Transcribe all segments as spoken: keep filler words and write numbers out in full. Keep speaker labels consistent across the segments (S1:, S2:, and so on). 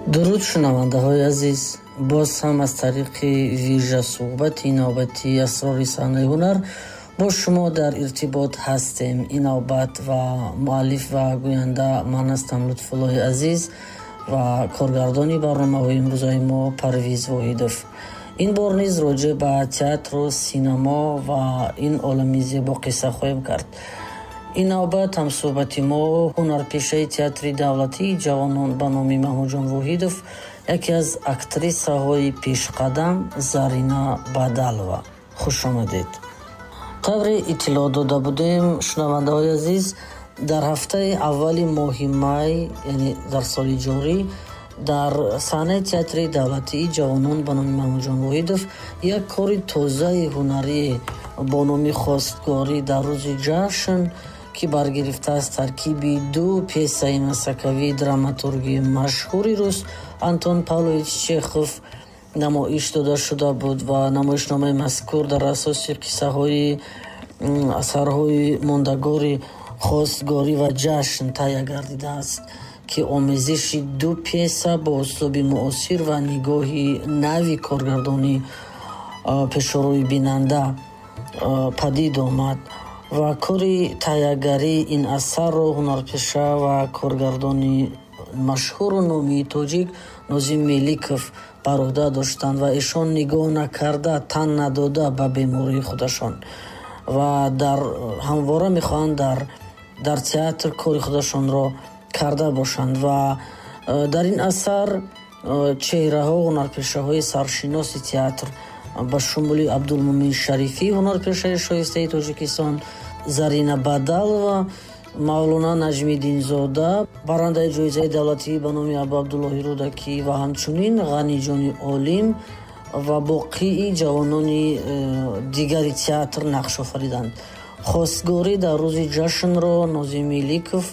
S1: Дуруд, шунавандаҳои азиз. Боз ҳам аз тариқи вижа суҳбати навбатии «Асрори саҳнаи ҳунар» бо шумо дар иртибот ҳастем. Ин навбат ва муаллиф ва гӯянда ман ҳастам, Лутфуллоҳи Азиз, ва коргардони барномаҳои имрӯзаи мо Парвиз Воҳидов. Ин бор низ роҷеъ ба театру синамо ва ин олами зебо қисса хоҳем кард. Ин навбат ҳамсӯҳбати мо ҳунарпешаи Театри давлатии ҷавонон ба номи Маҳмудҷон Воҳидов, яке аз актрисаҳои пешқадам Зарина Бадалова. Хуш омадед. Тавре иттилоъ дода будем, шунавандаҳои азиз, дар ҳафтаи аввали моҳи май, яъне дар соли ҷорӣ, дар саҳнаи Театри давлатии ҷавонон ба номи Маҳмудҷон Воҳидов як кори тозаи ҳунарӣ бо номи «Хостгорӣ дар рӯзи ҷашн», ки баргирифта аз таркиби ду пьесаи масакавии драматурги машҳури рус Антон Павлович Чехов, намоиш дода шуда буд. Ва намоишномаи мазкур дар асоси қиссаҳои асарҳои мондагори «Хостгорӣ» ва «Ҷашн» таҳия гардидааст, ки омезиши ду пьеса бо услуби муосир ва нигоҳи нави коргардонӣ пешорӯи бинанда падид омад. Ва кори таҳиягарии ин асарро ҳунарпеша ва коргардони машҳуру номии тоҷик Нозим Меликов бар уҳда доштанд ва эшон нигоҳ накарда, тан надода ба бемории худашон ва дар ҳамвора мехоҳанд дар дар театр кори худашонро карда бошанд. Ва э, дар ин асар э, чеҳраҳо, ҳунарпешаҳои саршиноси театр ба шумули Абдулмумин Шарифӣ, ҳунарпешаи шоистаи Тоҷикистон, Зарина Бадалова, Мавлона Наҷмиддинзода, барандаи ҷоизаи давлатӣ ба номи Абу Абдуллоҳи Рӯдакӣ, ва ҳамчунин Ғаниҷони Олим ва боқии ҷавонони э, дигари театр нақш офариданд. «Хостгорӣ дар рӯзи ҷашнро» Нозим Меликов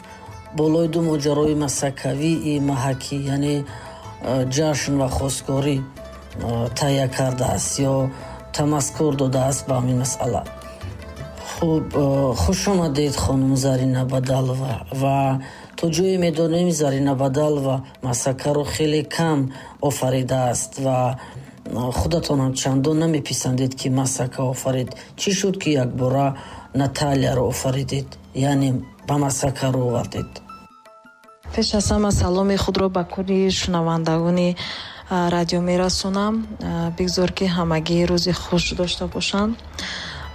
S1: болои ду моҷарои масакавии маҳакӣ, яъне э, ҷашн ва хостгорӣ, э, таҳия кардааст ё тамаскур додааст ба ҳамин масъала. Хуб, хуш омадед, хонум Зарина Бадалова. Ва то ҷое медонем, Зарина Бадалова масакаро хеле кам офаридааст ва худатонам чандон намеписандед, ки масака офарид. Чӣ шуд, ки якбора Наталияро офаридед, яъне ба масака рӯ овардед?
S2: Пеш аз ҳама саломи худро ба кулли шунавандагони радио мерасонам. Бигзор, ки ҳамагӣ рӯзи хуш дошта бошанд.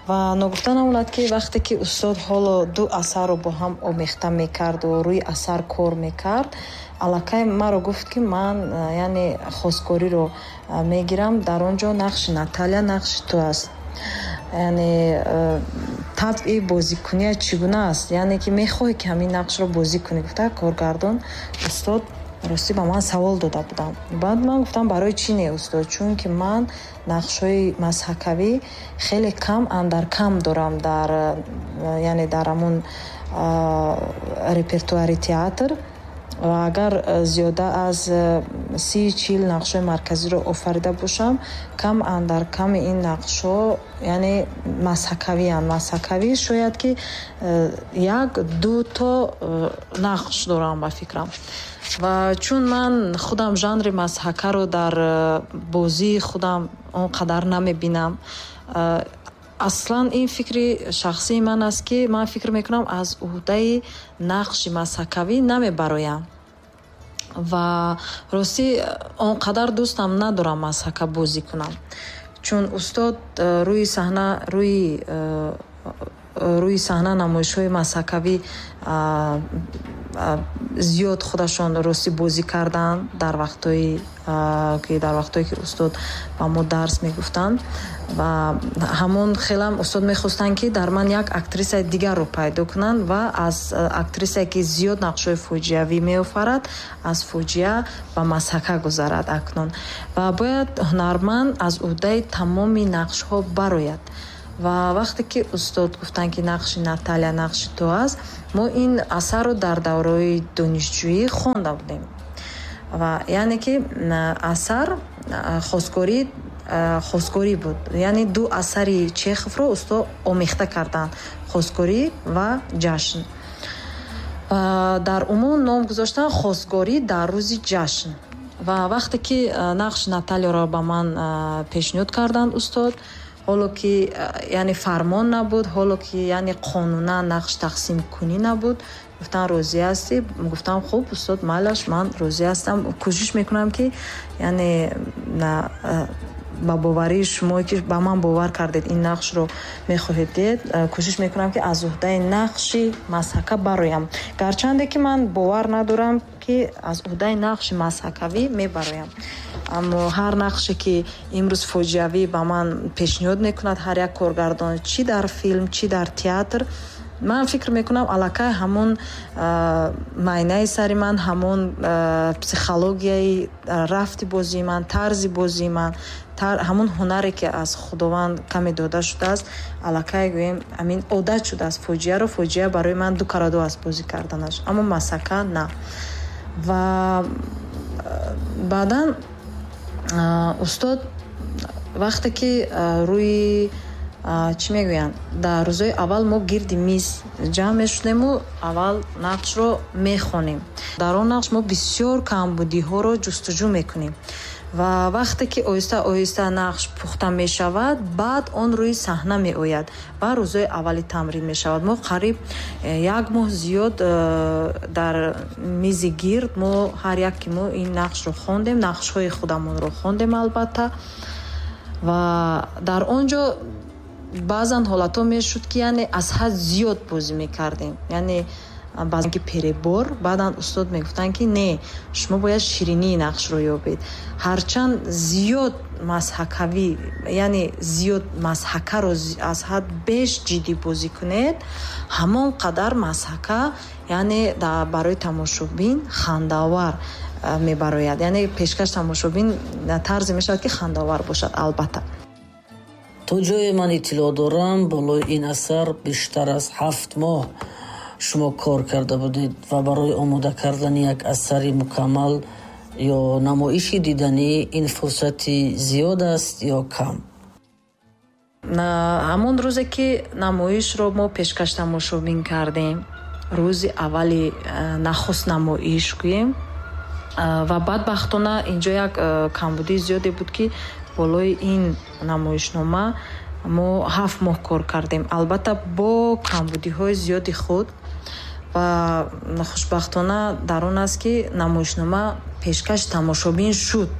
S2: Ва ногуфта намонад, ки вақте ки устод ҳоло ду асарро бо ҳам омехта мекарду рӯи асар кор мекард, аллакай маро гуфт, ки ман, яъне, хостгориро мегирам, дар он ҷо нақши Наталия нақши ту аст, яъне табъи бозикуния чӣ гуна аст, яъне ки мехоҳӣ, ки ҳамин нақшро бозӣ кунӣ, гуфта коргардон устод ростӣ ба ман савол дода будам. Баъд ман гуфтам: «Барои чӣ не, устод?» Чунки ман нақшҳои мазҳакавӣ хеле кам андар кам дорам дар, яъне, дар ҳамун репертуари театр. Ва агар зиёда аз си чил нақшҳои марказиро офарида бошам, кам андар ками ин нақшҳо, яъне, мазҳакавиянд. Мазҳакавӣ шояд ки як ду то нақш дорам, ба фикрам. Ва чун ман худам жанри мазҳакаро дар бозии худам он қадар намебинам, аслан ин фикри шахсии ман аст, ки ман фикр мекунам, аз уҳдаи нақши мазҳакавӣ намебароям. Ва ростӣ он қадар дӯстам надорам мазҳака бозӣ кунам, чун устод э, рӯи саҳна рӯи э, рӯи саҳна намоишҳои мазҳакавӣ зиёд худашон ростӣ бозӣ карданд дар вақтҳои ки дар вақтҳое ки устод ба мо дарс мегуфтанд. Ва ҳамон хелам устод мехостанд, ки дар ман як актрисаи дигарро пайдо кунанд ва аз актрисае, ки зиёд нақшҳои фоҷиавӣ меофарад, аз фоҷиа ба мазҳака гузарад акнун. Ва бояд ҳунарманд аз уҳдаи тамоми нақшҳо барояд. Ва вақте ки устод гуфтанд, ки нақши Наталия нақши ту аст, мо ин асарро дар давраи донишҷӯӣ хонда будем. Ва яъне ки асар хостгорӣ хостгорӣ буд, яъне ду асари Чеховро устод омехта карданд: «Хостгорӣ» ва «Ҷашн». Дар умум ном гузоштанд «Хостгорӣ дар рӯзи ҷашн». Ва вақте ки нақши Наталияро ба ман пешниҳод карданд устод, ҳоло ки яъне фармон набуд, ҳоло ки яъне қонунан нақш тақсимкунӣ набуд, гуфтан розӣ ҳастӣ? Гуфтам хуб устод, майлаш, ман розӣ ҳастам, кӯшиш мекунам ки яъне ба боварии шумо ки ба ман бовар кардед, ин нақшро мехоҳед дид, кӯшиш мекунам ки аз уҳдаи нақши мазҳака бароям. Гарчанде ки ман бовар надорам ки аз уҳдаи нақши мазҳакавӣ мебароям, аммо ҳар нақше ки имрӯз фоҷиавӣ ба ман пешниҳод мекунад ҳар як коргардон, чӣ дар филм, чӣ дар театр, ман фикр мекунам аллакай ҳамон майнаи сари ман, ҳамон психологияи рафти бозии ман, тарзи бозии ман, ҳамон ҳунаре ки аз Худованд каме дода шудааст, аллакай гӯем ҳамин одат шудааст. Фоҷиаро фоҷиа барои ман ду караду аст бозӣ карданаш, аммо масака на. Ва баъдан устод вақте ки рӯи чӣ мегӯянд, дар рӯзҳои аввал мо гирди миз ҷамъ мешудему аввал нақшро мехонем. Дар он нақш мо бисёр камбудиҳоро ҷустуҷӯ мекунем ва вақте ки оҳиста оҳиста нақш пухта мешавад, баъд он рӯи саҳна меояд ва рӯзҳои аввали тамрин мешавад. Мо қариб як моҳ зиёд дар мизи гирд мо ҳар як ки мо ин нақшро хондем, нақшҳои худамонро хондем албатта. Ва дар он ҷо баъзан ҳолатҳо мешуд ки яъне аз ҳад зиёд бозӣ мекардем, яъне баъзан ки перебор, баъдан устод мегуфтанд ки не, шумо бояд ширинии нақшро ёбед. Ҳарчанд зиёд мазҳакавӣ, яъне зиёд мазҳакаро аз ҳад беш ҷиддӣ бозӣ кунед, ҳамон қадар мазҳака яъне барои тамошобин хандаовар мебарояд, яъне пешкаш тамошобин тарзе мешавад ки хандаовар бошад. Албатта
S1: то ҷое ман иттилоъ дорам, болои ин асар бештар аз ҳафт моҳ шумо кор карда будед ва барои омода кардани як асари мукаммал ё намоиши диданӣ ин фурсати зиёд аст ё кам?
S2: Ҳамон рӯзе ки намоишро мо пешкаш тамошобин кардем, рӯзи аввали нахуст намоиш гӯем, ва бадбахтона инҷо як камбудии зиёде буд ки болои ин намоишнома мо ҳафт моҳ кор кардем, албатта бо камбудиҳои зиёди худ. Ва хушбахтона дар он аст ки намоишнома пешкаш тамошобин шуд.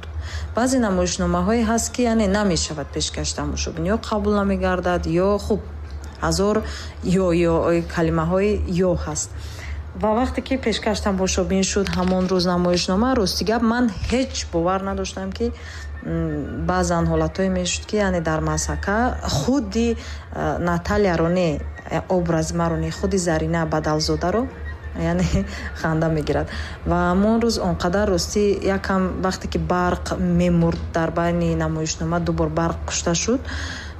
S2: Баъзе намоишномаҳое ҳаст ки яъне намешавад пешкаш тамошобин, ё қабул намегардад, ё хуб ҳазор ё ё калимаҳои ё ҳаст. Ва вақте ки пешкаш тамошобин шуд ҳамон рӯз намоишнома, рости гап ман ҳеҷ бовар надоштам ки баъзан ҳолатҳое мешуд ки яъне дар мазҳака худи Наталияро не, образи маро не, худи Зарина Бадалзодаро яъне ханда мегирад. Ва ҳамон рӯз он қадар ростӣ якам вақте ки барқ мемурд дар байни намоишнома, ду бор барқ кушта шуд,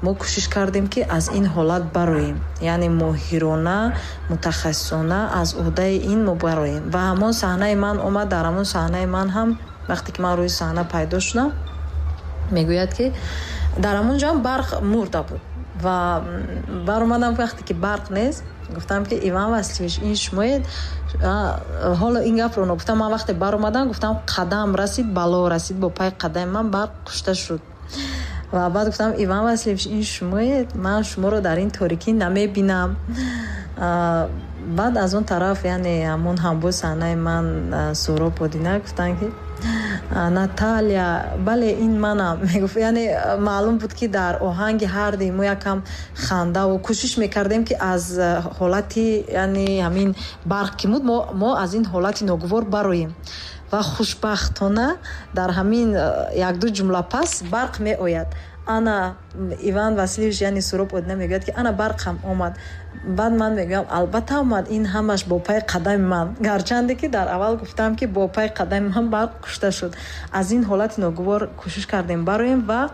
S2: мо кӯшиш кардем ки аз ин ҳолат бароем, яъне моҳирона, мутахассисона аз уҳдаи ин мо бароем. Ва ҳамон саҳнаи ман омад, дар ҳамон саҳнаи ман ҳам вақте ки ман рӯи саҳна пайдо шудам, мегӯяд ки дар ҳамон ҷо ҳам барқ мурда буд. Ва баромадам вақте ки барқ нест, гуфтам ки Иван Васильевич, ин шумоед? Ҳоло ин гапро нагуфтам, ман вақте баромадам гуфтам қадам расид, бало расид, бо пай қадами ман барқ кушта шуд. Ва баъд гуфтам Иван Васильевич, ин шумоед? Ман шуморо дар ин торикӣ намебинам. Баъд аз он тараф яъне ҳамон ҳамбои саҳнаи ман Суҳроб Одина гуфтанд ки Наталия, бале ин манам. Мегуфт, яъне маълум буд ки дар оҳанги ҳарди мо якам хандаву кӯшиш мекардем ки аз ҳолати яъне ҳамин барқ ки муд, мо, мо аз ин ҳолати ногувор бароем. Ва хушбахтона дар ҳамин якду ҷумла пас барқ меояд. Ана Иван Васильевич яъне Суҳроб Одина мегӯяд ки ана барқ ҳам омад. Баъд ман мегӯям албатта омад, ин ҳамаш бо пай қадами ман. Гарчанде ки дар аввал гуфтам ки бо пай қадами ман барқ кушта шуд. Аз ин ҳолати ногувор кӯшиш кардем бароем ва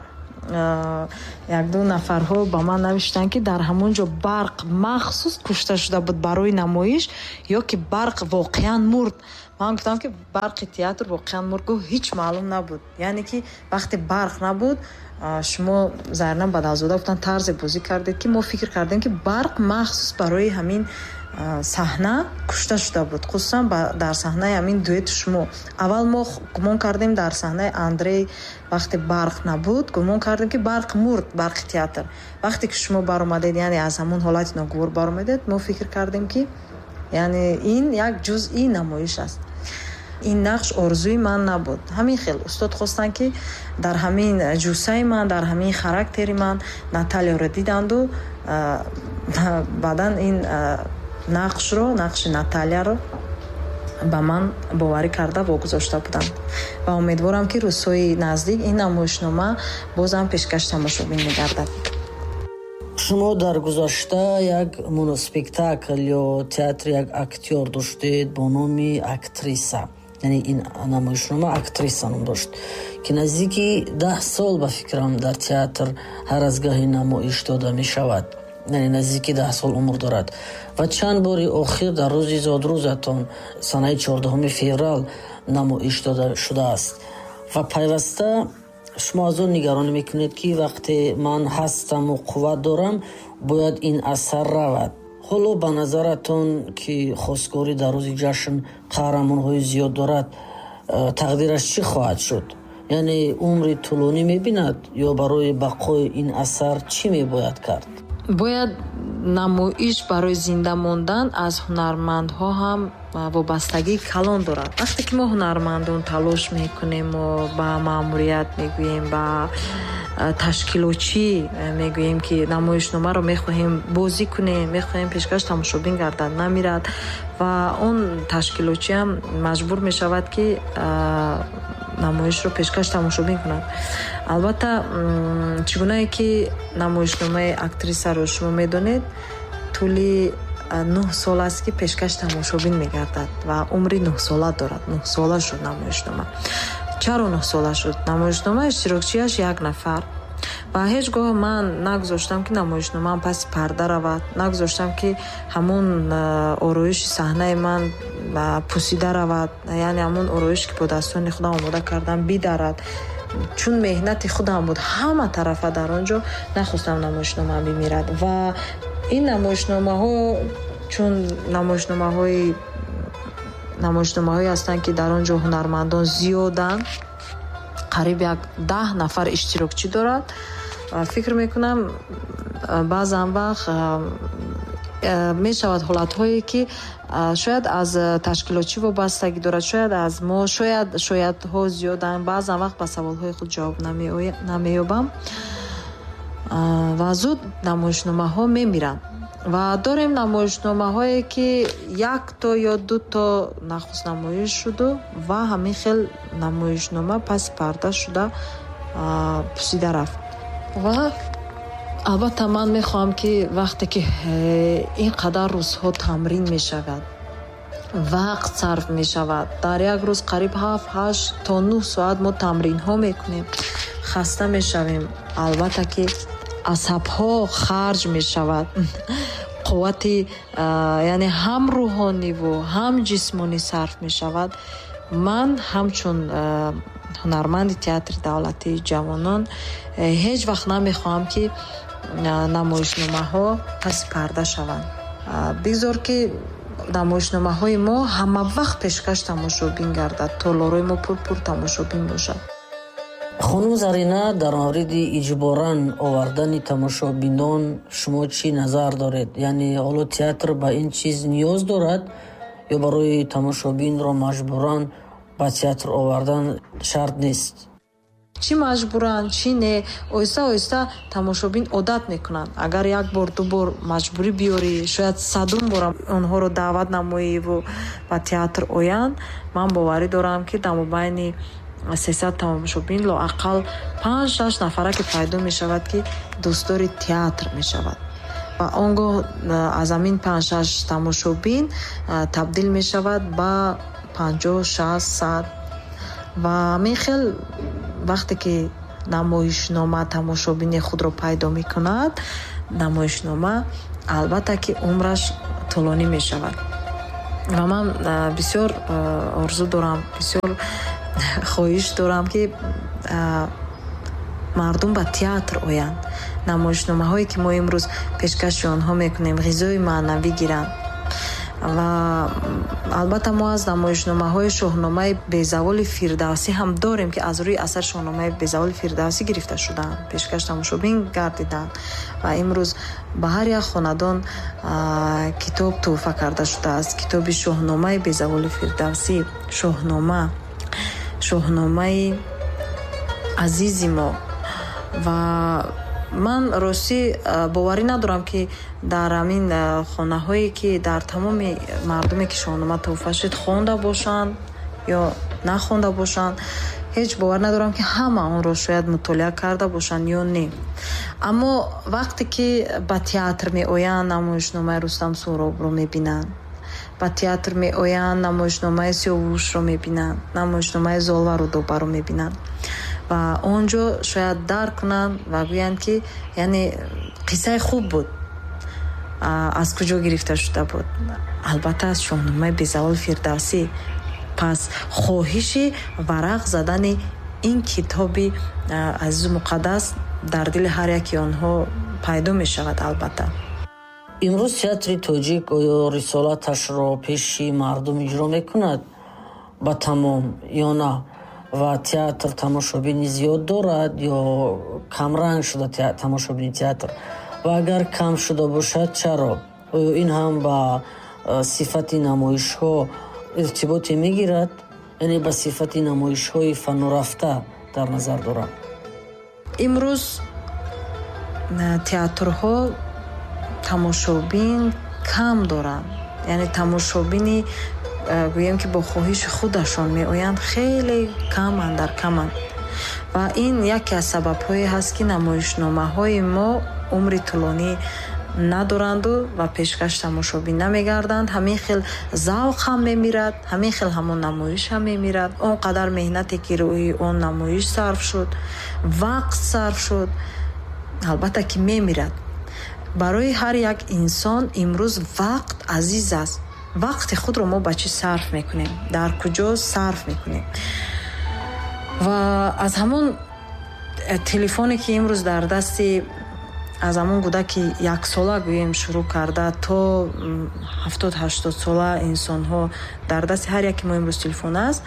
S2: якду нафарҳо ба ман навиштанд ки дар ҳамон ҷо барқ махсус кушта шуда буд барои намоиш ё ки барқ воқеан мурд. Ман гуфтам ки барқи театр воқеан мурд, гуфт ҳеҷ маълум набуд. Яъне ки вақте барқ набуд, шумо Зарина Бадалзода гуфтан тарзе бозӣ кардед ки мо фикр кардем ки барқ махсус барои ҳамин саҳна кушта шуда буд, хусусан дар саҳнаи ҳамин дуэти шумо. Аввал мо гумон кардем дар саҳнаи Андрей вақте барқ набуд, гумон кардем, ки барқ мурд, барқи театр. Вақте ки шумо баромадед, яъне аз ҳамон ҳолати ногувор баромадед, мо фикр кардем, ки яъне ин як ҷузъи намоиш аст. Ин нақш орзуи ман набуд. Ҳамин хел устод хостанд, ки дар ҳамин ҷуссаи ман, дар ҳамин характери ман Наталияро диданду баъдан ин нақшро, нақши Наталияро ба ман боварӣ карда вогузошта буданд. Ва умедворам, ки рӯзҳои наздик ин намоишнома бозам пешкаш тамошобин мегардад.
S1: Шумо дар гузашта як моноспектакл ё театри як актёр доштед бо номи «Актриса», яъне ин намоишнома «Актриса» ном дошт, ки наздики даҳ сол, ба фикрам, дар театр ҳар аз гаҳе намоиш дода мешавад, яъне наздики даҳ сол умр дорад ва чанд бори охир дар рӯзи зодрӯзатон, санаи чордаҳуми феврал, намоиш дода шудааст. Ва пайваста шумо аз он нигаронӣ мекунед, ки вақте ман ҳастаму қувват дорам, бояд ин асар равад. Ҳоло ба назаратон, ки хостгорӣ дар рӯзи ҷашн қаҳрамонҳои зиёд дорад, э, тақдираш чӣ хоҳад шуд? Яъне умри тӯлонӣ мебинад ё барои бақои ин асар чӣ мебояд кард?
S2: Бояд намоиш барои зинда мондан аз ҳунармандҳо ҳам вобастагии калон дорад. Вақте ки мо ҳунармандон талош мекунему ба маъмурият мегӯем, ба ташкилотчӣ мегӯем, ки намоишномаро мехоҳем бозӣ кунем, мехоҳем пешкаш тамошобин гардад, намирад, ва он ташкилотчиам маҷбур мешавад, ки намоишро пешкаш тамошобин кунад. Албатта, чӣ гунае ки намоишномаи «Актрисаро» шумо медонед, тӯли нӯҳ сол аст, ки пешкаш тамошобин мегардад ва умри нӯҳсола дорад. Нӯҳсола шуд намоишнома. Чаро нӯҳсола шуд намоишнома? Иштирокчиаш як нафар ва ҳеҷ гоҳ ман нагузоштам, ки намоишномаам паси парда равад, нагузоштам, ки ҳамон ороиши саҳнаи ман пусида равад, яъне ҳамон ороише, ки бо дастони худам омода кардам, бидарад. Чун меҳнати худам буд ҳама тарафа дар он ҷо, нахостам намоишномаам бимирад. Ва ин намоишномаҳо чун намоишномаҳои намоишномаҳое ҳастанд, ки дар он ҷо ҳунармандон зиёданд, қариб як даҳ нафар иштирокчӣ дорад, фикр мекунам, баъзан вақт мешавад ҳолатҳое, ки шояд аз ташкилотчӣ вобастагӣ дорад, шояд аз мо, шояд шоядҳо зиёданд. Баъзан вақт ба саволҳои худ ҷавоб намеёбам ва зуд намоишномаҳо мемиранд. Ва дорем намоишномаҳое, ки якто ё дуто нахустнамоиш шуду ва ҳамин хел намоишнома паси парда шуда пусида рафт. Ва албатта, ман мехоҳам, ки вақте ки ин қадар рӯзҳо тамрин мешавад, вақт сарф мешавад, дар як рӯз қариб ҳафт, ҳашт то нӯҳ соат мо тамринҳо мекунем, хаста мешавем, албатта ки асабҳо харҷ мешавад, қуввати, яъне ҳам рӯҳониву ҳам ҷисмонӣ сарф мешавад. Ман ҳамчун ҳунарманди театри давлатии ҷавонон ҳеҷ вақт намехоҳам, ки намоишномаҳо паси парда шаванд. Бигзор, ки намоишномаҳои мо ҳама вақт пешкаш тамошобин гардад, толорҳои мо пурпур тамошобин бошад.
S1: Хонум Зарина, дар мавриди иҷборан овардани тамошобинон шумо чӣ назар доред? Яъне ҳоло театр ба ин чиз ниёз дорад ё барои тамошобинро маҷбуран ба театр овардан шарт нест?
S2: Чӣ маҷбуран, чӣ не, оҳиста оҳиста тамошобин одат мекунанд. Агар як бор, ду бор маҷбурӣ биёрӣ, шояд садум бора онҳоро даъват намоиву ба театр оянд, ман боварӣ дорам, ки дар мобайни сесад тамошобин лоақал панҷ, шаш нафара ки пайдо мешавад, ки дӯстдори театр мешавад, ва он гоҳ аз ҳамин панҷ, шаш тамошобин табдил мешавад ба панҷоҳ, шаст, сад. Ва ҳамин хел вақте ки намоишнома тамошобини худро пайдо мекунад, намоишнома албатта ки умраш тӯлонӣ мешавад. Ва ман бисёр орзу дорам, бисёр хоҳиш дорам, ки мардум ба театр оянд, намоишномаҳое, ки мо имрӯз пешкаши онҳо мекунем, ғизои маънавӣ гиранд. Ва албатта мо аз намоишномаҳои Шоҳномаи безаволи Фирдавсӣ ҳам дорем, ки аз рӯи асар Шоҳномаи безаволи Фирдавсӣ гирифта шудаанд, пешкаш тамошобин гардиданд ва имрӯз ба ҳар як хонадон китоб тӯҳфа карда шудааст. Китоби Шоҳномаи безаволи Фирдавсӣ, Шоҳнома, Шоҳномаи азизи мо. Ва ман ростӣ боварӣ надорам, ки дар ҳамин хонаҳое, ки дар тамоми мардуме, ки Шоҳнома тӯҳфа шуд, хонда бошанд ё нахонда бошанд. Ҳеҷ бовар надорам, ки ҳама онро шояд мутолиа карда бошанд ё не. Аммо вақте ки ба театр меоянд, намоишномаи Рустам Суҳробро мебинанд, ба театр меоянд, намоишномаи Сиёвушро мебинанд, намоишномаи Золва Рудобаро мебинанд ва он ҷо шояд дарк кунанд ва гӯянд, ки яъне қиссаи хуб буд, аз куҷо гирифта шуда буд? Албатта, аз Шоҳномаи безавол Фирдавсӣ. Пас хоҳиши варақ задани ин китоби азизу муқаддас дар дили ҳар яки онҳо пайдо мешавад. Албатта,
S1: имрӯз театри тоҷик оё рисолаташро пеши мардум иҷро мекунад ба тамом ё на? Ва театр тамошобини зиёд дорад ё камранг шуда тамошобини театр? Ва агар кам шуда бошад, чаро? Оё ин ҳам ба сифати намоишҳо иртиботе мегирад, яъне ба сифати намоишҳои фанурафта дар назар дорам?
S2: Имрӯз театрҳо тамошобин кам доранд, яъне тамошобини, гӯем ки, бо хоҳиши худашон меоянд, хеле каманд, дар каманд. Ва ин яке аз сабабҳое ҳаст, ки намоишномаҳои мо умри тӯлонӣ надоранду ва пешкаш тамошобин намегарданд. Ҳамин хел завқ ҳам мемирад, ҳамин хел ҳамон намоиш ҳам мемирад. Он қадар меҳнате, ки рӯи он намоиш сарф шуд, вақт сарф шуд, албатта ки мемирад. Барои ҳар як инсон имрӯз вақт азиз аст. Вақти худро мо ба чӣ сарф мекунем, дар куҷо сарф мекунем? Ва аз ҳамон э, телефоне, ки имрӯз дар дасти аз ҳамон кӯдаки яксола, гӯем, шурӯъ карда то ҳафтод ҳаштод сола инсонҳо, дар дасти ҳар яке мо имрӯз телефон аст,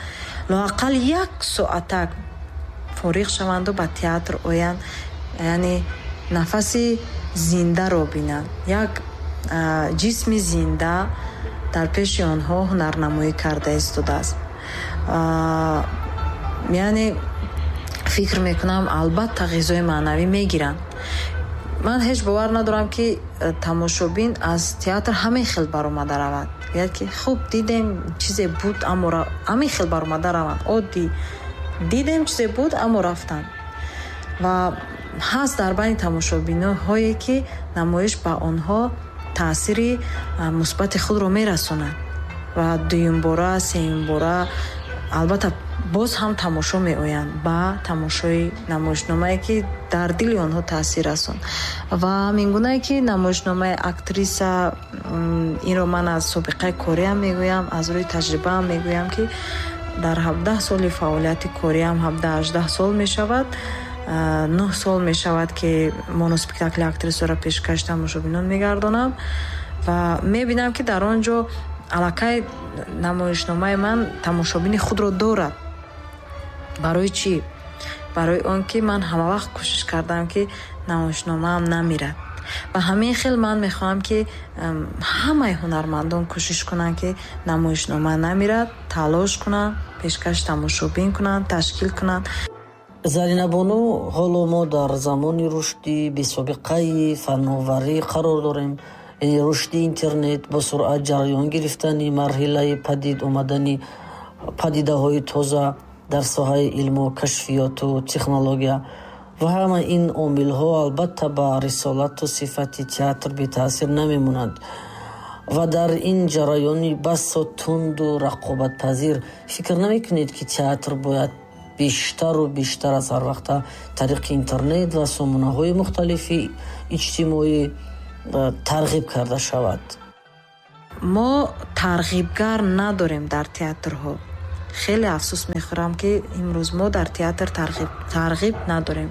S2: лоақал як соатак фориғ шаванду ба театр оянд, яъне нафаси зиндаро бинанд, як ҷисми зинда дар пеши онҳо ҳунарнамоӣ карда истодааст. Яъне фикр мекунам, албатта ғизои маънавӣ мегиранд. Ман ҳеҷ бовар надорам, ки э, тамошобин аз театр ҳамин хел баромада равад, гӯяд, ки хуб дидем, чизе буд, аммо ҳамин хел баромада раванд. Оддӣ дидем, чизе буд, аммо рафтанд. Ва ҳаст дар байни тамошобинҳое, ки намоиш ба онҳо таъсири мусбати худро мерасонад ва дуюмбора, сеюмбора албатта боз ҳам тамошо меоянд ба тамошои намоишномае, ки дар дили онҳо таъсир расонд. Ва ҳамингунае ки намоишномаи Актриса, инро ман аз собиқаи кориам мегӯям, аз рӯи таҷрибаам мегӯям, ки дар ҳабдаҳ соли фаъолияти кориам, ҳабдаҳ ҳаждаҳ сол мешавад, нӯҳ сол мешавад, ки моноспектакли Актрисаро пешкаш тамошобинон мегардонам ва мебинам, ки дар он ҷо аллакай намоишномаи ман тамошобини худро дорад. Барои чӣ? Барои он ки ман ҳамавақт кӯшиш кардам, ки намоишномаам намирад. Ва ҳамин хел ман мехоҳам, ки ҳамаи ҳунармандон кӯшиш кунанд, ки намоишнома намирад, талош кунанд, пешкаш тамошобин кунанд, ташкил кунанд.
S1: Заринабону, ҳоло мо дар замони рушди бесобиқаи фановарӣ қарор дорем, яъне рушди интернет, бо суръат ҷараён гирифтани марҳилаи падид омадани падидаҳои тоза дар соҳаи илму кашфиёту технология. Ва ҳама ин омилҳо албатта ба рисолату сифати театр бетаъсир намемонанд. Ва дар ин ҷараёни басо тунду рақобатпазир фикр намекунед, ки театр бояд бештару бештар аз ҳар вақта тариқи интернет ва сомонаҳои мухталифи иҷтимоӣ э, тарғиб карда шавад?
S2: Мо тарғибгар надорем дар театрҳо. Хеле афсӯс мехӯрам, ки имрӯз мо дар театр тарғиб надорем.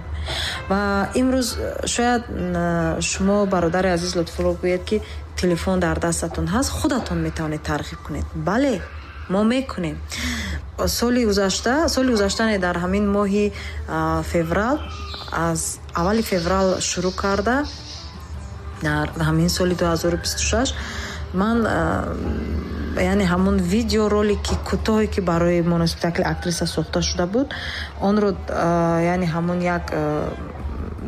S2: Ва имрӯз шояд шумо, бародари азиз Лутфулло, гӯед, ки телефон дар дастатон ҳаст, худатон метавонед тарғиб кунед. Бале, мо мекунем. Соли гузашта, соли гузашта не, дар ҳамин моҳи феврал, аз аввали феврал шурӯъ карда дар ҳамин соли ду ҳазору бисту шаш ман, яъне ҳамон видеоролики кӯтоҳе, ки барои моноспектакли «Актриса» сохта шуда буд, онро, яъне ҳамон як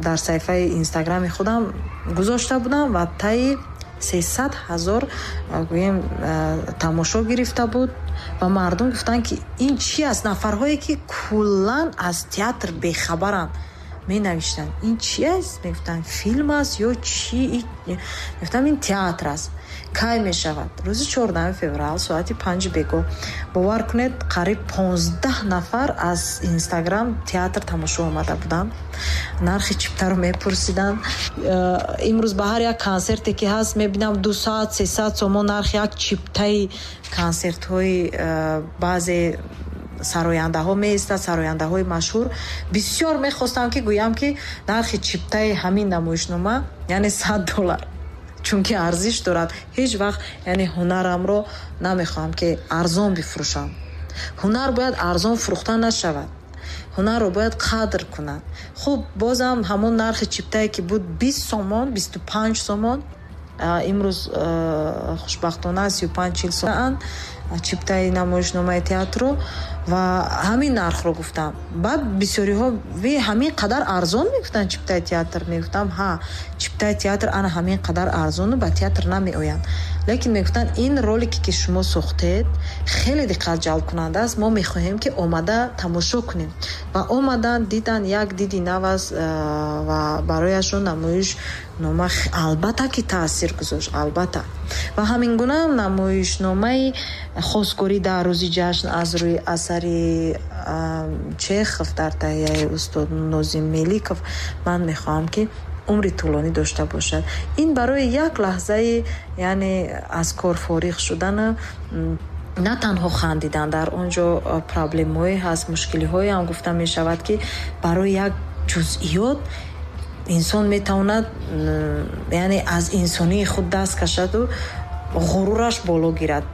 S2: дар саҳифаи Инстаграми худам гузошта будам ва таи сесад ҳазор гӯем тамошо гирифта буд. Ва мардум гуфтанд, ки ин чи аст? Нафарҳое, ки куллан аз театр бехабаранд, менавиштанд: «Ин чи аст?» Мегуфтанд: «Филм аст ё чи?» Мегуфтам: «Ин театр аст». Кай мешавад? Рӯзи чордаҳуми феврал, соати панҷи бегоҳ. Бовар кунед, қариб понздаҳ нафар аз Инстаграм театр тамошо омада буданд, нархи чиптаро мепурсиданд. э, имрӯз ба ҳар як консерте, ки ҳаст, мебинам дусад, сесад сомон нархи як чиптаи консертҳои э, баъзе сарояндаҳо меистад, сарояндаҳои машҳур. Бисёр мехостам, ки гӯям, ки нархи чиптаи ҳамин намоишнома, яъне сад доллар, чунки арзиш дорад. Ҳеҷ вақт, яъне, ҳунарамро намехоҳам, ки арзон бифурӯшам. Ҳунар бояд арзон фурӯхта нашавад, ҳунарро бояд қадр кунад. Хуб, бозам ҳамон нархи чиптае, ки буд бист сомон, бисту панҷ сомон, имрӯз, хушбахтона, сию панҷ чил сомон чиптаи намоишномаи театрро ва ҳамин нархро гуфтам. Баъд бисёриҳо: «Ҳамин қадар арзон мегуфтанд чиптаи театр?» Мегуфтам: «Ҳа, чиптаи театр ана ҳамин қадар арзону ба театр намеоянд». Лекин мегуфтанд: «Ин ролике, ки шумо сохтед, хеле диққат ҷалбкунанда аст, мо мехоҳем, ки омада тамошо кунем». Ва омаданд, диданд, як диди нав аст ва барояшон намоишнома албатта ки таъсир гузошт, албатта. Ва ҳамин гуна намоишномаи «Хостгорӣ дар рӯзи ҷашн» аз рӯи асари Чехов дар таҳияи устод Нозим Меликов, ман мехоҳам, ки умри тӯлонӣ дошта бошад. Ин барои як лаҳзаи, яъне, аз кор фориғ шудану на танҳо хандидан, дар он ҷо проблемҳое ҳаст, мушкилиҳое ҳам гуфта мешавад, ки барои як ҷузъиёт инсон метавонад, яъне, аз инсонии худ даст кашаду ғурураш боло гирад.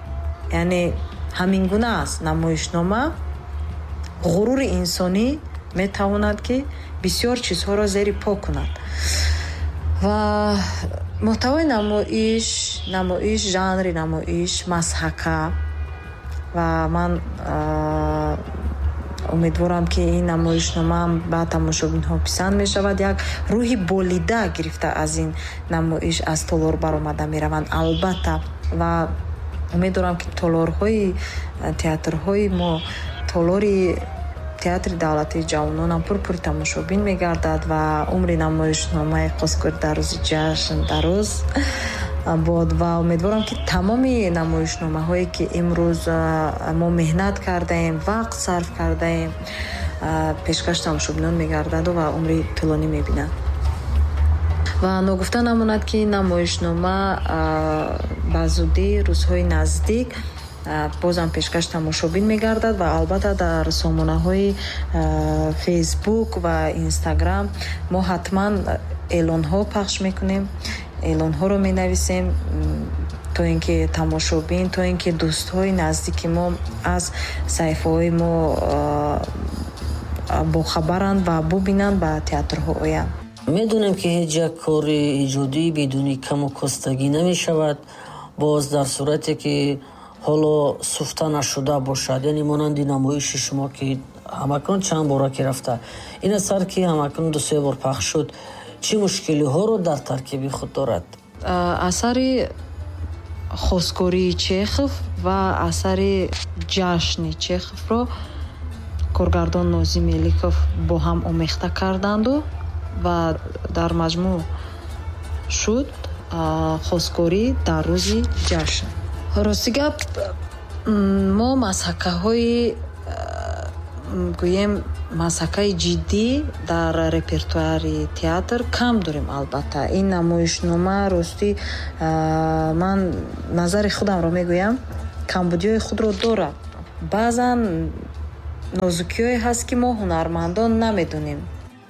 S2: Яъне ҳамин гуна аст намоишнома: ғурури инсонӣ метавонад, ки бисёр чизҳоро зери по кунад. Ва муҳтавои намоиш намоиш жанри намоиш масҳака. Ва ман умедворам, ки ин намоишномаам ба тамошобинҳо писанд мешавад. Як рӯҳи болида гирифта аз ин намоиш аз толор баромада мераванд, албатта. Ва умед дорам, ки толорҳои театрҳои мо, толори Театри давлатии ҷавононам пурпури тамошобин мегардад ва умри намоишномаи «Хостгорӣ дар рӯзи ҷашн» дароз бод. Ва умедворам, ки тамоми намоишномаҳое, ки имрӯз мо меҳнат кардаем, вақт сарф кардаем, пешкаш тамошобинон мегардаду ва умри тӯлонӣ мебинанд. Ва ногуфта намонад, ки намоишнома ба зудӣ, рӯзҳои наздик бозам пешкаш тамошобин мегардад ва албатта дар сомонаҳои Фейсбук ва Инстаграм мо ҳатман эълонҳо пахш мекунем, эълонҳоро менависем, то ин ки тамошобин, то ин ки дӯстҳои наздики мо аз саҳифаҳои мо бохабаранд ва бубинанд, ба театрҳо оянд.
S1: Медонем, ки ҳеҷ як кори эҷодӣ бидуни каму костагӣ намешавад, боз дар сурате ки ҳоло суфта нашуда бошад, яъне монанди намоиши шумо, ки ҳамакнун чанд бора ки рафта. Ин асар, ки ҳамакнун дусе бор пахш шуд, чӣ мушкилиҳоро дар таркиби худ дорад?
S2: Асари «Хостгории» Чехов ва асари «Ҷашни» Чеховро коргардон Нозим Меликов бо ҳам омехта карданду ва дар маҷмӯъ шуд «Хостгорӣ дар рӯзи ҷашн». Рости гап, мо масҳакаҳои, гӯем, масҳакаи ҷиддӣ дар репертуари театр кам дорем. Албатта, ин намоишнома, ростӣ, ман назари худамро мегӯям, камбудиҳои худро дорад. Баъзан нозукиҳое ҳаст, ки мо ҳунармандон намедонем.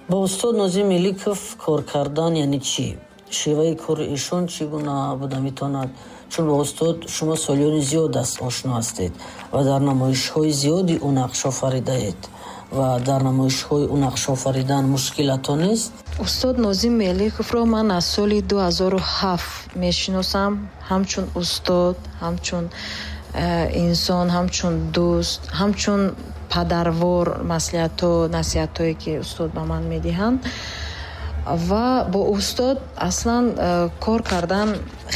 S1: Бо устод Нозим Меликов кор кардан яъне чӣ? Шеваи кори эшон чӣ гуна буда метавонад? Чун бо устод шумо солиёни зиёд аст ошно ҳастед ва дар намоишҳои зиёди ӯ нақш офаридаед ва дар намоишҳои ӯ нақш офаридан мушкилато нест?
S2: Устод Нозим Меликовро ман аз соли ду ҳазору ҳафт мешиносам, ҳамчун устод, ҳамчун инсон, ҳамчун дӯст, ҳамчун падарвор, маслиҳатҳо, насиҳатҳое ки устод ба ман медиҳанд. Ва бо устод аслан кор кардан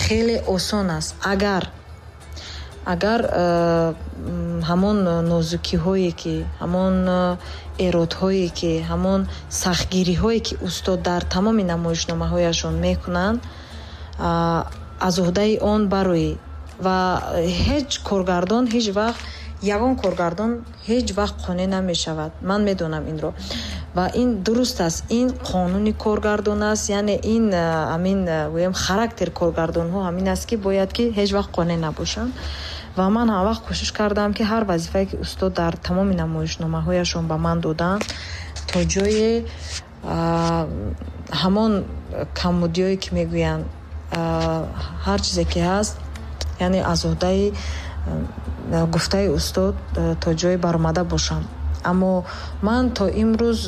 S2: хеле осон аст, агар агар ҳамон нозукиҳое ки, ҳамон эродҳое ки, ҳамон сахтгириҳое ки устод дар тамоми намоишномаҳояшон мекунанд, аз уҳдаи он бароӣ. Ва ҳеҷ коргардон ҳеҷ вақт, ягон коргардон ҳеҷ вақт қонеъ намешавад. Ман медонам инро. Ва ин дуруст аст, ин қонуни коргардон аст, яъне ин ҳамин гӯем характер коргардонҳо ҳамин аст, ки бояд ки ҳеҷ вақт қонеъ набошанд. Ва ман ҳам вақт кӯшиш кардам, ки ҳар вазифае ки устод дар тамоми намоишномаҳояшон ба ман доданд, то ҷое ҳамон камбудиҳое ки мегӯянд, ҳар чизе ки ҳаст, яъне аз уҳдаи гуфтаи устод то ҷое баромада бошам. Аммо ман то имрӯз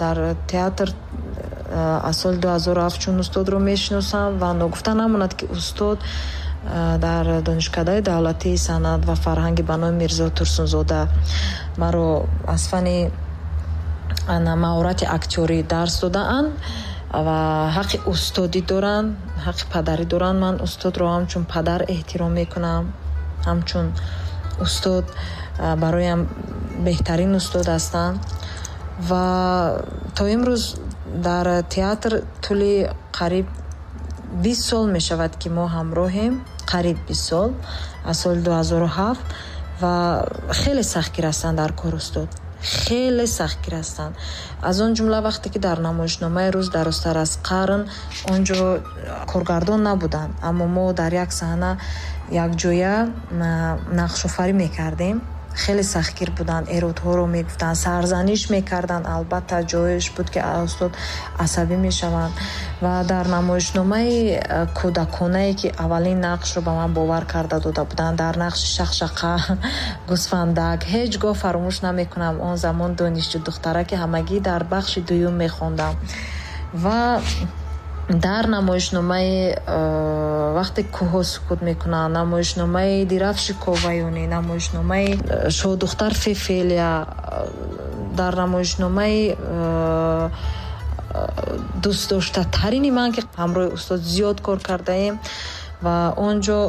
S2: дар театр аз соли ду ҳазору ҳафт чун устодро мешиносам ва ногуфта намонад, ки устод дар Донишкадаи давлатии санъат ва фарҳанги ба номи Мирзо Турсунзода маро аз фани маҳорати актёрӣ дарс додаанд ва ҳаққи устодӣ доранд, ҳаққи падарӣ доранд. Ман устодро ҳамчун падар эҳтиром мекунам, ҳамчун устод бароям беҳтарин устод ҳастанд. Ва то имрӯз дар театр тӯли қариб бист сол мешавад, ки мо ҳамроҳем, қариб бист сол, аз соли ду ҳазору ҳафт. Ва хеле сахтгир ҳастанд дар кор устод, хеле сахтгир ҳастанд. Аз он ҷумла вақте ки дар намоишномаи «Рӯз дарозтар аз қарн» он ҷо коргардон набуданд, аммо мо дар як саҳна якҷоя нақшофарӣ мекардем. Хеле сахтгир буданд, эродҳоро мегуфтанд, сарзаниш мекарданд. Албатта ҷоеш буд, ки устод асабӣ мешаванд. Ва дар намоишномаи кӯдаконае ки аввалин нақшро ба ман бовар карда дода буданд, дар нақши Шақшақа гӯсфандак, ҳеҷ гоҳ фаромӯш намекунам. Он замон донишҷӯ духтараки ҳамагӣ дар бахши дуюм мехондам. Ва дар намоишномаи вақте кӯҳҳо сукут мекунанд, намоишномаи Дирафши Коваюнӣ, намоишномаи Шоҳдухтар Фефелия, дар намоишномаи дӯстдоштатарини ман, ки ҳамроҳи устод зиёд кор кардаем, ва он ҷо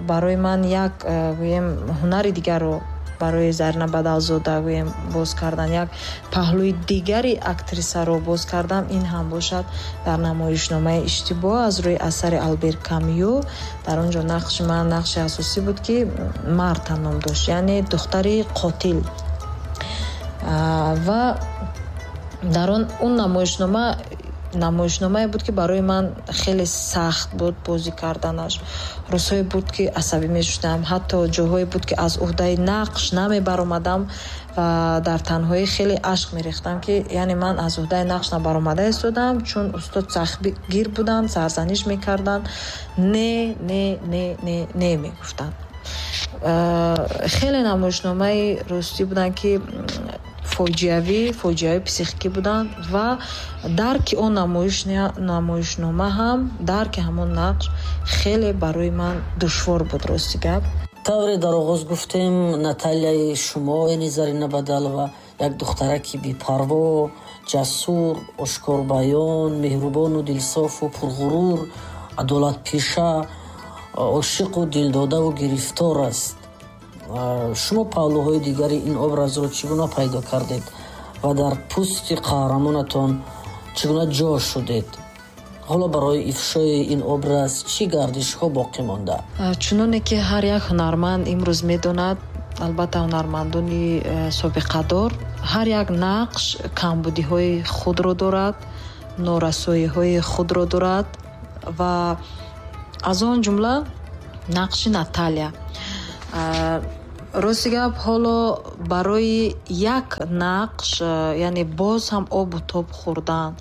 S2: барои ман як гӯем ҳунари дигарро барои Зарина Бадалзода гӯем боз кардан, як паҳлӯи дигари актрисаро боз кардам. Ин ҳам бошад дар намоишномаи «Иштибоҳ» аз рӯи асари Албер Камю. Дар он ҷо нақши ман нақши асосӣ буд, ки Марта ном дошт, яъне духтари қотил. Ва дар он он намоишнома намоишномае буд, ки барои ман хеле сахт буд бозӣ карданаш. Рӯзҳое буд, ки асабӣ мешудам, ҳатто ҷоҳое буд, ки аз уҳдаи нақш намебаромадам ва дар танҳоӣ хеле ашк мерехтам, ки яъне ман аз уҳдаи нақш набаромада истодам, чун устод сахтгир буданд, сарзаниш мекарданд, не, не, не, не, не мегуфтанд. Хеле намоишномаи ростӣ буданд, ки фоҷиавӣ, фоҷиаи психикӣ буданд ва дарки он намоишнома ҳам, дарки ҳамон нақш хеле барои ман душвор буд, рости гап.
S1: Тавре дар оғоз гуфтем, Наталияи шумо, яъне Зарина Бадалова, як духтараки бепарво, ҷасур, ошкорбаён, меҳрубону дилсофу пурғурур, адолатпеша, ошиқу дилдодаву гирифтор аст. Шумо паҳлӯҳои дигари ин образро чӣ гуна пайдо кардед ва дар пӯсти қаҳрамонатон чӣ гуна ҷо шудед? Ҳоло барои ифшои ин образ чӣ гардишҳо боқӣ монда?
S2: Чуноне ки ҳар як ҳунарманд имрӯз медонад, албатта ҳунармандони собиқадор, ҳар як нақш камбудиҳои худро дорад, норасоиҳои худро дорад ва аз он ҷумла нақши Наталия. Рости гап, ҳоло барои як нақш, яъне боз ҳам обу тоб хӯрдан,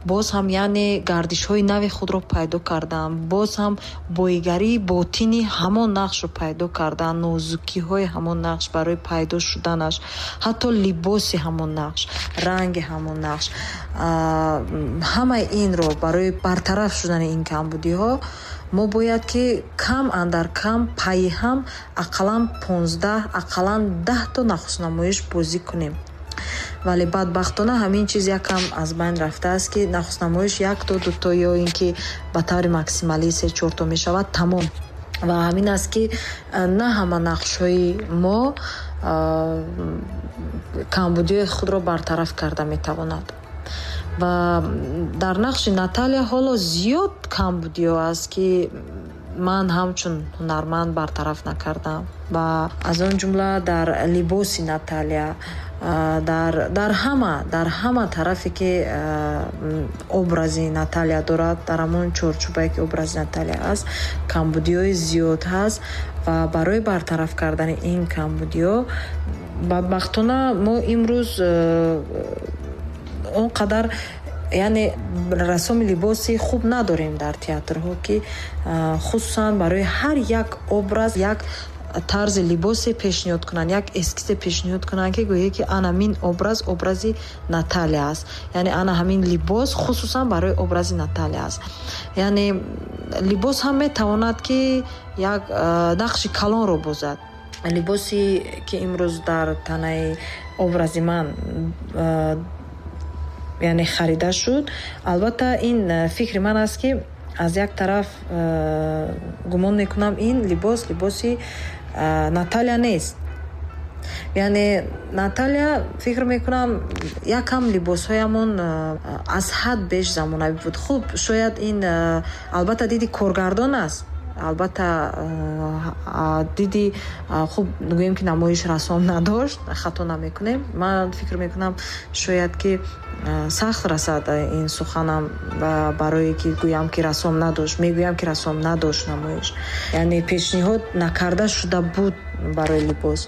S2: боз ҳам яъне гардишҳои нави худро пайдо кардан, боз ҳам боигарии ботини ҳамон нақшро пайдо кардан, нозукиҳои ҳамон нақш барои пайдо шуданаш, ҳатто либоси ҳамон нақш, ранги ҳамон нақш, ҳамаи инро барои бартараф шудани ин камбудиҳо мо бояд ки кам андар кам пайи ҳам ақаллан понздаҳ, ақаллан даҳто нахустнамоиш бозӣ кунем. Вале бадбахтона ҳамин чиз якам аз байн рафтааст, ки нахустнамоиш якто, дуто ё ин ки ба таври максималӣ се чорто мешавад, тамом. Ва ҳамин аст, ки на ҳама нақшҳои мо камбудиҳои худро бартараф карда метавонад. Ва дар нақши Наталия ҳоло зиёд камбудиҳо аст, ки ман ҳамчун ҳунарманд бартараф накардам. Ва аз он ҷумла дар либоси Наталия, дар, дар ҳама, дар ҳама тарафе ки образи Наталия дорад, дар ҳамон чорчӯбае ки образи Наталия аст, камбудиҳои зиёд ҳаст ва барои бартараф кардани ин камбудиҳо бадбахтона мо имрӯз он қадар яъне расоми либоси хуб надорем дар театрҳо, ки хусусан барои ҳар як образ як тарзи либосе пешниҳод кунанд, як эскизе пешниҳод кунанд, ки гӯяд ки ана ҳамин образ образи Наталия аст, яъне ана ҳамин либос хусусан барои образи Наталия аст. Яъне либос ҳам метавонад ки як нақши калонро бозад. Либосе ки имрӯз дар танаи образи ман яъне харида шуд, албатта ин фикри ман аст, ки аз як тараф гумон мекунам ин либос либоси Наталия нест. Яъне Наталия фикр мекунам якам либосҳоямон аз ҳад беш замонавӣ буд. Хуб, шояд ин албатта диди коргардон аст, албатта диди хуб гӯем ки намоиш расом надошт, хато намекунем. Ман фикр мекунам шояд ки сахт расад ин суханам барое ки гӯям ки расом надошт, мегӯям ки расом надошт намоиш, яъне пешниҳод накарда шуда буд барои либос.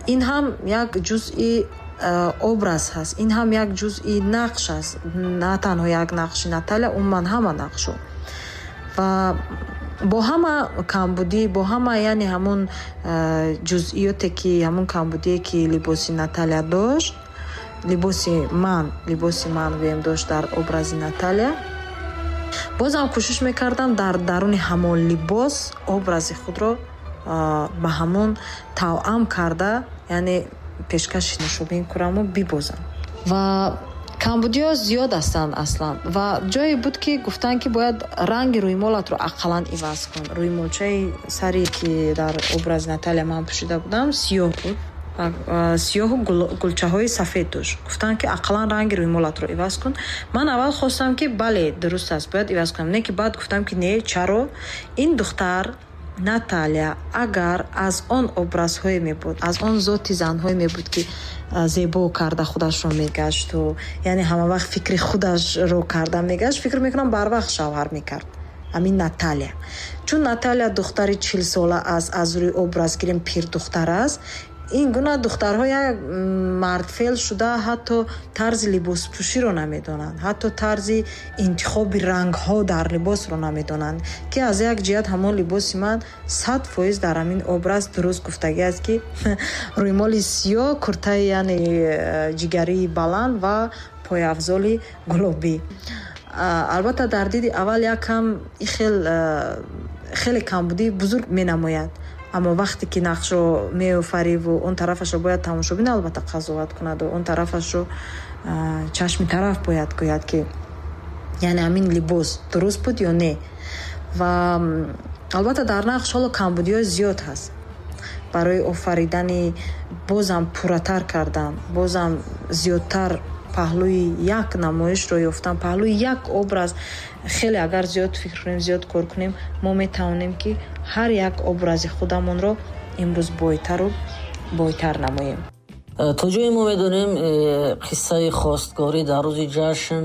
S2: Ин ҳам як ҷузъи образ ҳаст, ин ҳам як ҷузъи нақш аст, на танҳо як нақши Наталия, умуман ҳама нақшо. Ва бо ҳама камбудӣ, бо ҳама яъне ҳамон ҷузъиёте ки ҳамон камбудие ки либоси Наталия дошт, либоси ман, либоси ман гӯем дошт дар образи Наталия, бозам кӯшиш мекардам дар даруни ҳамон либос образи худро ба ҳамон тавъам карда, яъне пешкаши тамошобин кунаму бибозам. Ва камбудиҳо зиёд ҳастанд аслан. Ва ҷое буд ки гуфтанд ки бояд ранги рӯймолатро ақаллан иваз кун. Рӯймолчаи саре ки дар образи Наталия ман пӯшида будам сиёҳ буд, сиёҳу гулчаҳои сафед дошт. Гуфтанд ки ақаллан ранги рӯймолатро иваз кун. Ман аввал хостам ки бале, дуруст аст, бояд иваз кунам, не ки баъд гуфтам ки не, чаро ин духтар Наталия агар аз он образҳое мебуд, аз он зоти занҳое мебуд ки зебо карда худашро мегашту яъне ҳама вақт фикри худашро карда мегашт, фикр мекунам барвақт шавҳар мекард ҳамин Наталия. Чун Наталия духтари чилсола аст, аз рӯи образ гирем пирдухтар аст, ин гуна духтарҳо як мардфел шуда ҳатто тарзи либоспӯширо намедонанд, ҳатто тарзи интихоби рангҳо дар либосро намедонанд, ки аз як ҷиҳат ҳамон либоси ман сад фоиз дар ҳамин образ дуруст гуфтагӣ аст, ки рӯймоли сиёҳ, куртаи яъне ҷигарии баланд ва пойафзоли гулобӣ. Албатта дар диди аввал якам хел хеле камбудии бузург менамояд, аммо вақте ки нақшро меофариву он тарафашро бояд тамошобин албатта қазоват кунаду он тарафашро чашми тараф бояд гӯяд ки яъне ҳамин либос дуруст буд ё не. Ва албатта дар нақш ҳоло камбудиҳои зиёд ҳаст. Барои офаридани бозам пурратар кардан, бозам зиёдтар паҳлӯи як намоишро ёфтан, паҳлӯи як образ, хеле агар зиёд фикр кунем, зиёд кор кунем, мо метавонем ки ҳар як образи худамонро имрӯз бойтару бойтар намоем.
S1: То ҷое мо медонем, қиссаи хостгорӣ дар рӯзи ҷашн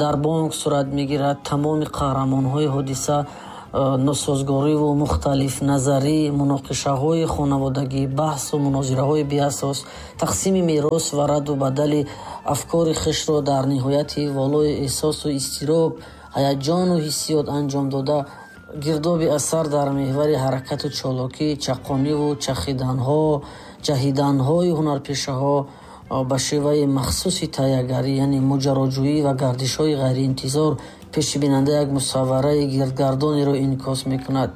S1: дар бонк сурат мегирад. Тамоми қаҳрамонҳои ҳодиса Носозгориву мухталифназарӣ, муноқишаҳои хонаводагӣ, баҳсу мунозираҳои беасос, тақсими мерос ва радду бадали афкори хешро дар ниҳояти волои эҳсосу изтироб, ҳаяҷону ҳиссиёт анҷом дода, гирдоби асар дар меҳвари ҳаракату чолокӣ, чаққониву чахиданҳо, ҷаҳиданҳои ҳунарпешаҳо ба шеваи махсуси таҳиягарӣ, яъне моҷароҷӯӣ ва гардишҳои ғайриинтизор пеши бинанда як мусаввараи гирдгардонеро инъикос мекунад.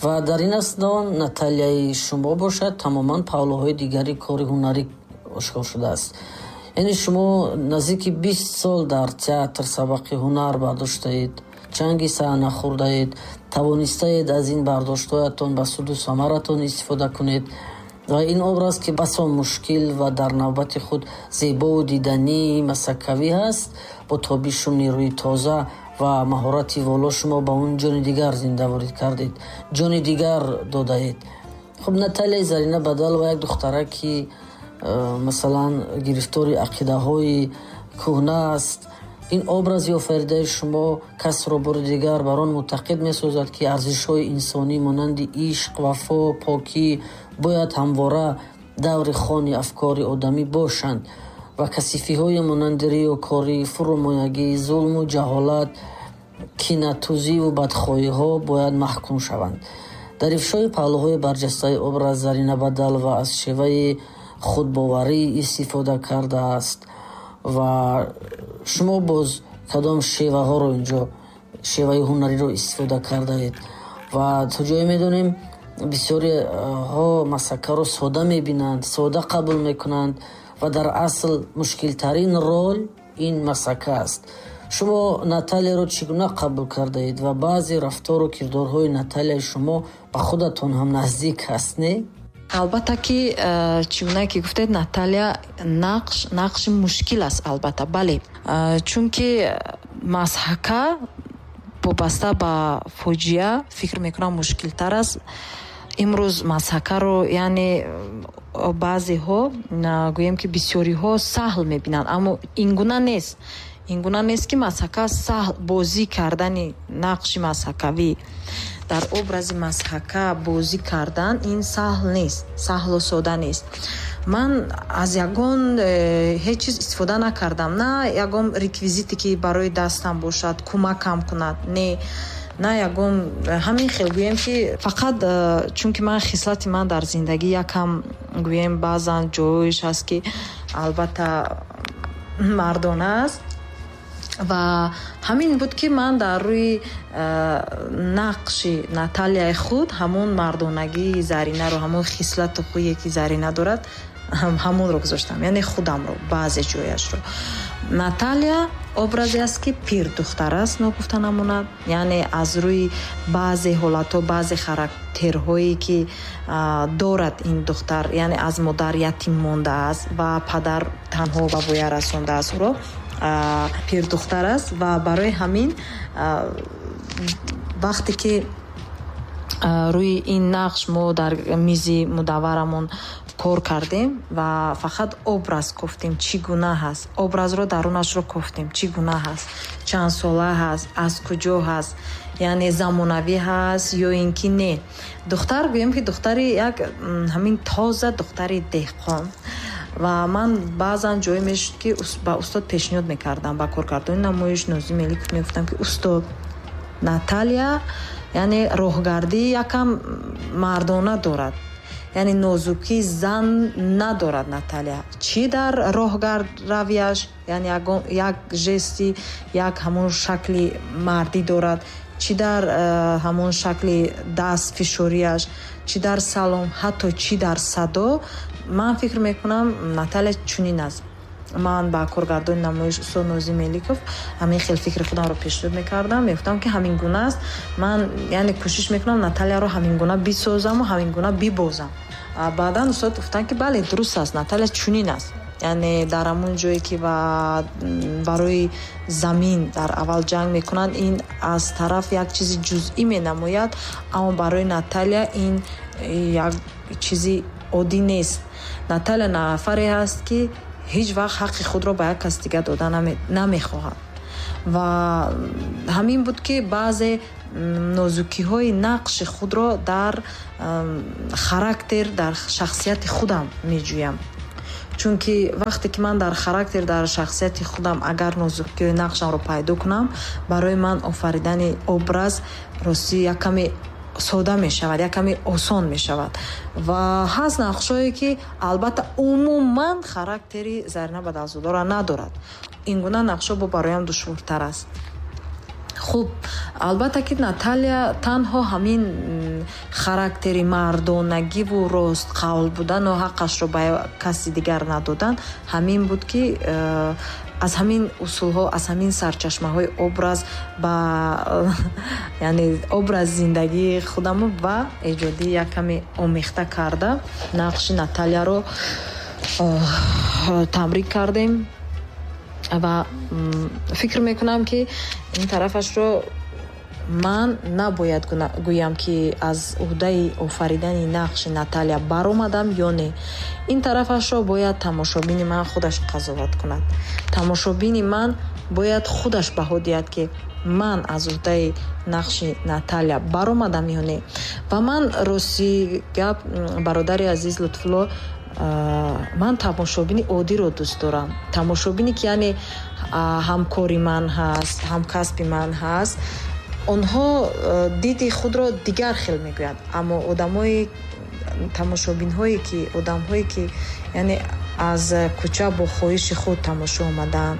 S1: Ва дар ин асно Наталияи шумо бошад, тамоман паҳлӯҳои дигари кори ҳунарӣ ошкор шудааст. Яъне шумо наздики бист сол дар театр сабақи ҳунар бардоштаед, чанги саҳна хӯрдаед, тавонистаед аз ин бардоштҳоятон ба суду самаратон истифода кунед. Ва ин образ, ки басо мушкил ва дар навбати худ зебову дидании масаккавӣ ҳаст, бо тобишу нерӯи тоза ва маҳорати воло шумо ба он ҷони дигар зинда ворид кардед, ҷони дигар додаед. Хуб, Наталияи Зарина Бадалова як духтара, ки э, масалан, гирифтори ақидаҳои кӯҳна аст. Ин образи офаридаи шумо касро бори дигар бар он мӯътақид месозад, ки арзишҳои инсонӣ монанди ишқ, вафо, покӣ бояд ҳамвора даври хони афкори одамӣ бошанд ва касифиҳои монанди риёкорӣ, фурӯмоягӣ, зулму ҷаҳолат, кинатузиву бадхоҳиҳо бояд маҳкум шаванд. Дар ифшои паҳлӯҳои барҷастаи образ Зарина Бадалова аз шеваи худбоварӣ истифода кардааст. Ва шумо боз кадом шеваҳоро инҷо, шеваи ҳунариро истифода кардаед? Ва то ҷое медонем, бисёриҳо масакаро сода мебинанд, сода қабул мекунанд ва дар асл мушкилтарин рол ин масака аст. Шумо Наталияро чӣ гуна қабул кардаед ва баъзе рафтору кирдорҳои Наталияи шумо ба худатон ҳам наздик аст, не?
S2: Албатта ки, э, чӣ гуна ки гуфтед, Наталия нақш, нақши мушкил аст, албатта, бале. Э, чунки масҳака вобаста ба фоҷиа фикр мекунам мушкилтар аст. Имрӯз масҳакаро, яъне баъзеҳо, гӯем ки бисёриҳо саҳл мебинанд, аммо ин гуна нест. Ин гуна нест, ки масҳака саҳл бозӣ кардани нақши масҳакавӣ дар образи масҳака бозӣ кардан ин саҳл нест, саҳлу сода нест. Ман аз ягон э, ҳеҷ чиз истифода накардам, на ягон реквизите, ки барои дастам бошад, кӯмакам кунад, не, на ягон ҳамин хел, гӯем ки фақат э, чунки ман хислати ман дар зиндагӣ якам, гӯем, баъзан ҷоиш ҳаст, ки албатта мардона аст. Ва ҳамин буд, ки ман дар рӯи э, нақши Наталияи худ ҳамон мардонагии Заринаро, ҳамон хислату хӯе, ки Зарина дорад, ҳамонро гузоштам, яъне худамро баъзе ҷояшро. Наталия образе аст, ки пирдухтар аст, ногуфта намонад, яъне аз рӯи баъзе ҳолатҳо, баъзе характерҳое, ки дорад ин духтар, яъне аз модар ятим мондааст ва падар танҳо ба воя расондааст ӯро, пирдухтар аст. Ва барои ҳамин вақте ки рӯи ин нақш мо дар мизи мудавварамон кор кардем ва фақат образ кофтем, чӣ гуна ҳаст, образро дарунашро кофтем, чӣ гуна ҳаст, чанд сола ҳаст, аз куҷо ҳаст, яъне замонавӣ ҳаст ё ин ки не. Духтар, гӯем ки духтари як ҳамин тоза духтари деҳқон. Ва ман баъзан ҷое мешуд, ки ба устод пешниҳод мекардам, ба коргардони намоиш Нозим Меликов мегуфтам, ки устод, Наталия яъне роҳгардӣ якам мардона дорад, яъне нозукии зан надорад. Наталия чӣ дар роҳгардравияш, яъне як жести, як ҳамон шакли мардӣ дорад, чӣ дар э, ҳамон шакли даст фишориаш, чӣ дар салом, ҳатто чӣ дар садо. Ман фикр мекунам, Наталия чунин аст. Ман ба коргардони намоиш устод Нозим Меликов ҳамин хел фикри худамро пешниҳод мекардам, мегуфтам, ки ҳамин гуна аст. Ман яъне кӯшиш мекунам Наталияро ҳамин гуна бисозаму ҳамин гуна бибозам. Баъдан устод гуфтанд, ки бале, дуруст аст, Наталия чунин аст, яъне дар ҳамон ҷое, ки барои замин дар аввал ҷанг мекунанд, ин аз тараф як чизи ҷузъӣ менамояд, аммо барои Наталия ин як чизи оддӣ нест. Наталия нафаре ҳаст, ки ҳеҷ вақт ҳаққи худро ба як кас дигар дода намехоҳад. Ва ҳамин буд, ки баъзе Нозукиҳои нақши худро дар характер, дар шахсияти худам меҷӯям. Чунки вақте ки ман дар характер, дар шахсияти худам агар нозукиҳои нақшамро пайдо кунам, барои ман офаридани образ ростӣ як каме сода мешавад, як каме осон мешавад. Ва ҳаст нақшҳое, ки албатта умуман характери Зарина Бадалзодаро надорад. Ин гуна нақшҳо бо бароям душвортар аст. Хуб, албатта ки Наталия танҳо ҳамин характери мардонагиву ростқавл будану ҳаққашро ба каси дигар надодан, ҳамин буд, ки э, аз ҳамин усулҳо, аз ҳамин сарчашмаҳои образ ба, яъне образ зиндагии худаму ва эҷодӣ як каме омехта карда нақши Наталияро э, тамрин кардем. Ва фикр мекунам, ки ин тарафашро ман набояд гӯям, ки аз уҳдаи офаридани нақши Наталия баромадам ё не. Ин тарафашро бояд тамошобини ман худаш қазоват кунад. Тамошобини ман бояд худаш баҳо диҳад, ки ман аз уҳдаи нақши Наталия баромадам ё не. Ва ман, рости гап, бародари азиз Лутфулло, ман тамошобини оддиро дӯст дорам, тамошобине ки, яъне, ҳамкори ман ҳаст, ҳамкасби ман ҳаст. Онҳо диди худро дигар хел мегӯянд, аммо одамои, тамошобинҳое ки, одамҳое ки, яъне, аз кӯча бо хоҳиши худ тамошо омадаанд,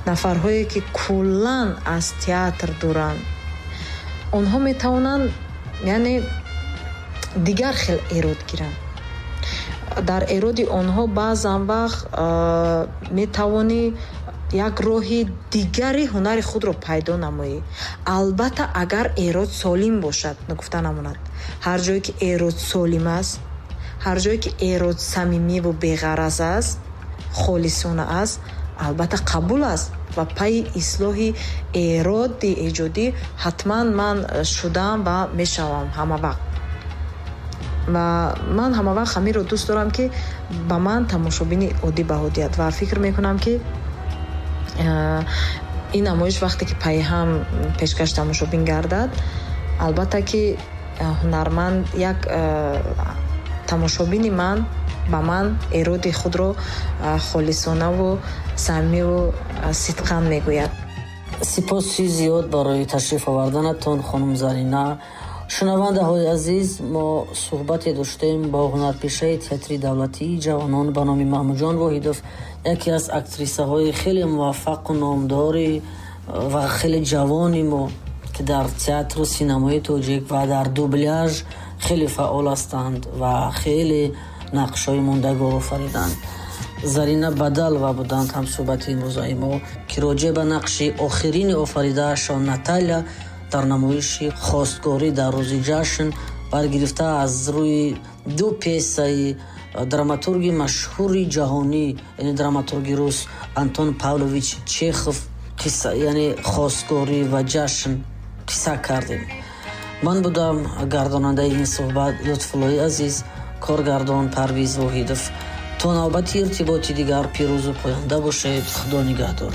S2: нафарҳое ки куллан аз театр дуранд, онҳо метавонанд, яъне, дигар хел эрод гиранд. Дар эроди онҳо баъзан вақт метавонӣ як роҳи дигари ҳунари худро пайдо намоӣ. Албатта, агар эрод солим бошад. Нагуфта намонад, ҳар ҷое ки эрод солим аст, ҳар ҷое ки эрод самимиву беғараз аст, холисона аст, албатта қабул аст. Ва пайи ислоҳи эроди эҷодӣ ҳатман ман шудам ва мешавам ҳама вақт. Ва ман ҳама вақт ҳаминро дӯст дорам, ки ба ман тамошобини оддӣ баҳо диҳад. Ва фикр мекунам, ки ин намоиш вақте ки пайҳам пешкаш тамошобин гардад, албатта ки ҳунарманд, як тамошобини ман ба ман эроди худро холисонаву самимиву сидқан мегӯяд.
S1: Сипоси зиёд барои ташриф оварданатон, хонум Зарина. Шунавандаҳои азиз, мо суҳбате доштем бо ҳунарпешаи Театри давлатии ҷавонон ба номи Маҳмудҷон Воҳидов, яке аз актрисаҳои хеле муваффақу номдори ва хеле ҷавони мо, ки дар театру синамои тоҷик ва дар дубляж хеле фаъол ҳастанд ва хеле нақшҳои мондагор офариданд. Зарина Бадалова буданд ҳамсӯҳбати имрӯзаи мо, ки роҷеъ ба нақши охирини офаридаашон Наталия дар намоиши «Хостгорӣ дар рӯзи ҷашн», баргирифта аз рӯи ду пьесаи драматурги машҳури ҷаҳонӣ, яъне драматурги рус Антон Павлович Чехов, қисса, яъне «Хостгорӣ» ва «Ҷашн», қисса кардем. Ман будам гардонандаи ин суҳбат Лутфуллои Азиз, коргардон Парвиз Воҳидов. То навбати иртиботи дигар пирӯзу поянда бошед. Худо нигаҳдор.